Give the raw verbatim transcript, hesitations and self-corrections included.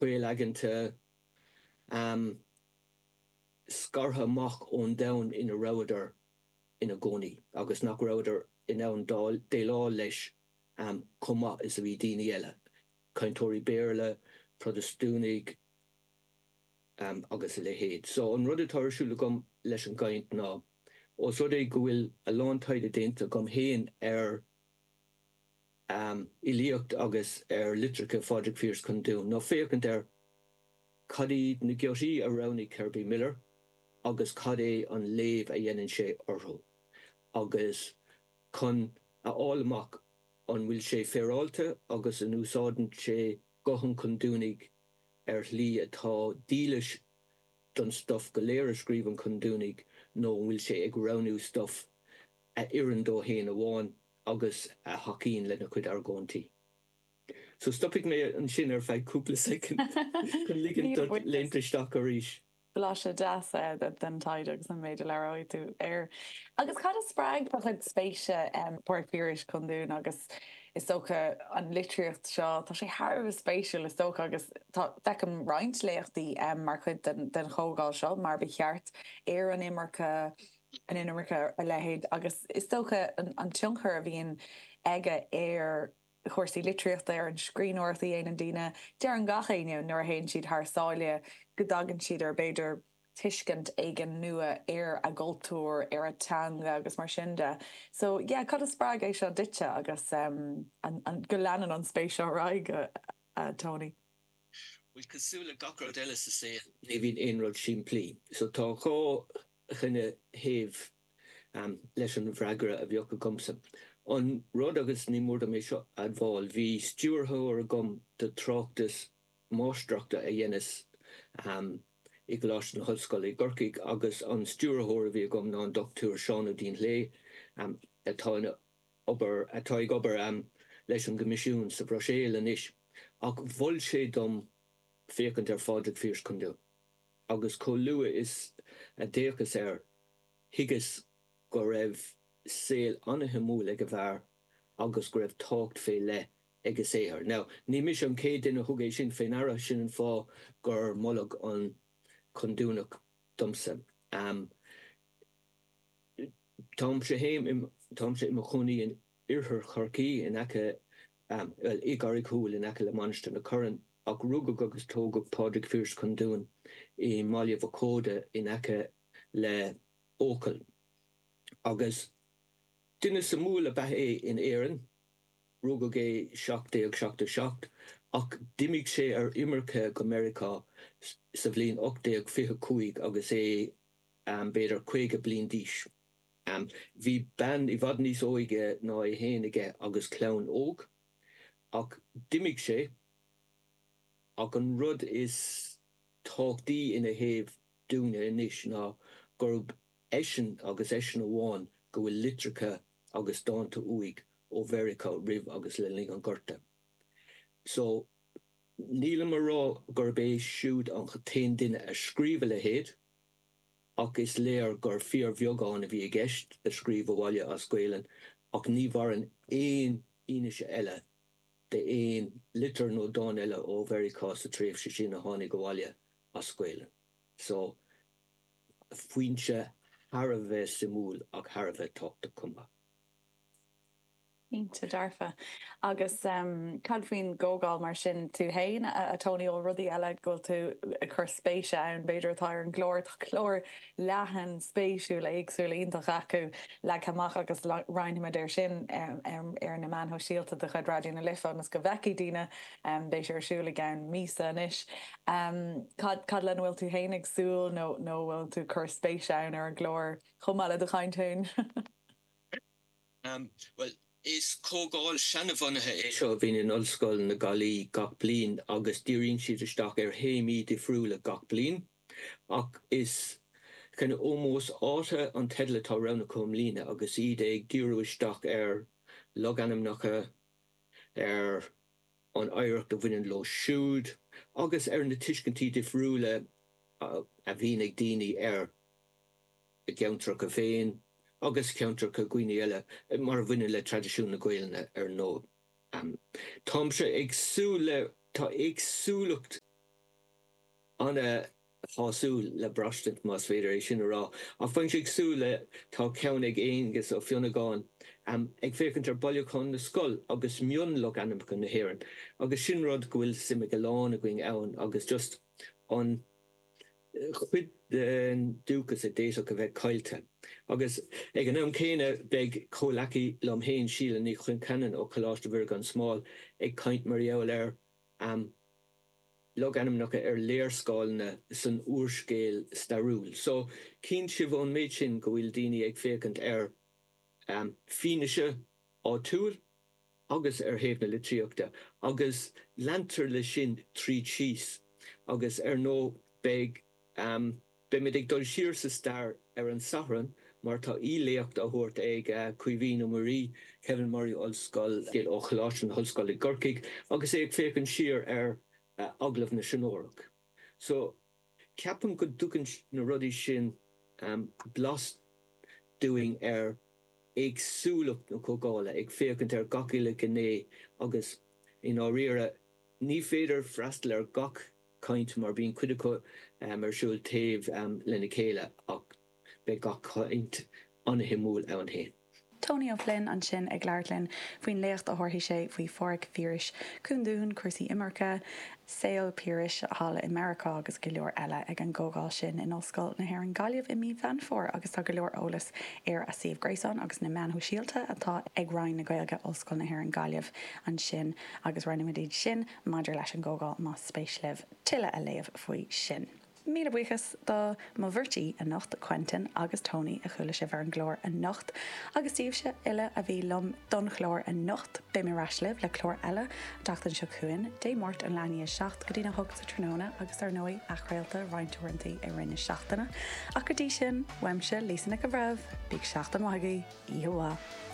Caolaigeanta, scartha amach ón domhan ina rabhadar ina gcónaí agus nach rabhadar in ann déileáil leis chomh maith is a bhí daoine eile, cainteoirí Béarla, Protastúnaigh agus a leithéid. So an rud atá ar siúl agam leis an gcaint ná, ós rud é go bhfuil a lán taighde déanta agam féin ar fhilíocht agus ar litreacha Phádraig Phearse Chondoon, ná féachaint ar cad iad na giotaí a roghnaigh Kerby Miller agus cad é an léamh a dhéanann sé orthu agus chun a fháil amach an bhfuil sé féaráilte agus an úsáideann sé guth an Chondúnaigh ar shlí atá dílis don stuif go léir a scríobh an Condúnaigh nó an bhfuil sé ag roghnú stuif a oireann dó féin amháin agus a thacaíonn lena chuid argóintí. So stopfaidh mé ansin ar feadh cúpla soicind chun ligint duit léimt isteach arís. Blaiseadh deas den taighde agus an méid a labhróidh tú air. Agus cad a spreag do chuid spéise Pádraig Phiarais Chondúin agus is dócha an litríocht seo, tá sé thar a bheith spéisiúil is dócha agus tá, feicim roinnt léachtaí mar chuid den den chomhdháil seo mar ba cheart ar an imirce, an inimirce a leithéid agus is dócha an tionchar a bhíonn aige ar chúrsaí litríochta, ar an scríbhneoireacht a dhéanann daoine. Deireann gach éinne nuair a théann siad thar sáile go dtagann siad ar, b'fhéidir, tuiscint éigin nua ar a gcultúr, ar a dteanga agus mar sin de. So, yeah, cad a spreag é seo duitse agus an go leanann an spéis seo ar aghaidh, a Tony? Bhuel, cosúil le gach rud eile sa saol, ní bhíonn aon rud simplí. So tá dhá chineál thaobh leis an bhfreagra a bheadh agamsa. An rud, agus ní mór dom é seo a admháil, bhí stiúrthóir agam do tráchtas máistreachta a dheineas i gColáiste na hOllscoile i gCorcaigh agus an stiúrthóir a bhí agam ná an Dochtúir Seán Ó Duinnshléibhe atá ina obair, atá ag obair leis an gCoimisiún sa Bhruiséil anois, ach mhol sé dom féachaint ar Phádraig Phearse Condún. Agus chomh luath is a d'fhéachas air, thuigeas go raibh saol an-shuimiúil ag an bhfear agus go raibh tábhacht fé leith ag a saothar. Now, ní mise an chéad duine a thug é sin fé ndeara, sin an fáth gur moladh an Condúnach domsa. Táimse féin, táimse i mo chónaí in oirthear Chorcaí, in aice, bhuel, i gCarraig Thúil, in aice le Mainistir na Corann, ach rugadh agus tógadh Pádraig Phearse Condún i mBaile Bhacóide in aice le Eochaill. Agus duine suimiúil ab ea é in Éirinn, rugadh é seacht déag seachtó seacht, ach d'imigh sé ar imirce go Meiriceá sa bhliain ocht déag fiche cúig agus é b'fhéidir caoga bliain d'aois. Bhí bean i bhfad níos óige ná é féin aige agus clann óg, ach d'imigh sé. Ach an rud is tábhachtaí ina thaobh dúinne anois ná gurb eisean agus eisean amháin go bhfuil litreacha agus dánta uaidh ó Mheiriceá roimh agus le linn an Ghorta. So, nílim a rá gurb é siúd an t-aon duine a scríobh a leithéid, ach is léir gur fíorbheagán a bhí i gceist a scríobh abhaile as Gaelainn, ach ní mhaireann aon fhianaise eile d'aon litir nó dán eile ó Mheiriceá sa tréimhse sin a tháinig abhaile as Gaelainn. So, foinse thar a bheith suimiúil ach thar a bheith tábhachtach chomh maith. Cinnte dearfa. Agus cad faoin gcomhdháil mar sin tú fhéin, a Tony, ó rudaí eile go bhfuil tú ag cur spéise ann, b'fhéidir atá ar an gclár? Tá clár leathan, spéisiúil, éagsúil, iontach acu leagtha amach agus roinnfimid air sin ar na meáin shóisialta de chuid Raidió na Life ionas go bhfeicfidh daoine. Beidh sé ar siúl i gceann míosa anois. Cad, cad lena bhfuil tú fhéin ag súil nó nó bhfuil tú ag cur spéise ann ar an gclár chomh maith le do chaint fhéin? Bhuel, is comhdháil seanbhunaithe é seo a bhíonn in Ollscoil na Gaillimhe gach bliain agus díríonn siad isteach ar théamaí difriúla gach bliain. Ach is kind of ómós áite an teideal atá roghnaithe acu i mbliana agus iad ag díriú isteach ar logainmneacha, ar an oidhreacht a bhaineann leo siúd agus ar na tuiscintí difriúla a bhíonn ag daoine ar a gceantracha féin agus ceantracha dhaoine eile, mar a bhaineann le traidisiún na Gaelainne, ar ndóigh. Táimse ag súil le, tá éagsúlacht An-shásúil le braistint, más féidir é sin a rá. Ach bheinnse ag súil le, tá ceann ag Aengus Ó Fionnagáin, ag féachaint ar Bhailiúchán na Scol agus mionlogainmneacha na hÉireann agus sin rud go bhfuil suim ag a lán againn ann agus just an chuid den dúchas a d'fhéadfadh a bheith caillte. Agus ag an am céanna beidh comhleacaí liom féin, Síle Ní Chonceanainn ó Choláiste Mhuire gan Smál ag caint mar gheall ar logainmneacha ar léarscáileanna san úrscéal stairiúil. So, cíonn sibh ón méid sin go bhfuil daoine ag féachaint ar fianaise áitiúil agus ar thaobh na litríochta agus leantar leis sin tríd síos agus ar ndóigh beidh beimid ag dul siar sa stair ar an Satharn mar tá aoi-léacht á thabhairt ag Caoimhín Ó Muirí, Kevin Murray Ollscoil ó Choláiste na hOllscoile i gCorcaigh agus é ag féachaint siar ar Agallamh na Seanórach. So ceapaim go dtugann na rudaí sin blas dúinn ar éagsúlacht na comhdhála, ag féachaint ar gach uile ghné agus i ndáiríre ní féidir freastal ar gach caint mar bíonn cuid acu ar siúl taobh lena chéile ach beidh gach caint an-shuimiúil ann féin. Tony O'Flynn ansin ag labhairt linn faoin léacht a thabharfaidh sé faoi Pháraic Phiarais Cúndún, cúrsaí imirce, saol Piarais thall i Meiriceá agus go leor eile ag an gcomhdháil sin in Ollscoil na hÉireann Gaillimh i mí Mheán Fómhair agus tá go leor eolas ar a suíomh gréasáin agus na meáin shóisialta atá ag Roinn na Gaeilge, Ollscoil na hÉireann Gaillimh ansin agus roinnfimid iad sin maidir leis an gcomhdháil más spéis libh tuilleadh a léamh faoi sin. Míle buíochas do mo bheirt aoi anocht, Quentin agus Tony, a chuala sibh ar an gclár anocht, agus daoibhse uile a bhí liom don chlár anocht. Beidh mé ar ais libh le clár eile an tseachtain seo chugainn, Dé Máirt ón leath i ndiaidh a seacht go dtí'n a hocht sa tráthnóna agus ar ndóigh athchraolta roinnt uaireanta i rith na seachtaine. Ach go dtí sin, uaimse, Lisa Nic an Bhreithimh, bíodh seachtain mhaith agaibh, oíche mhaith.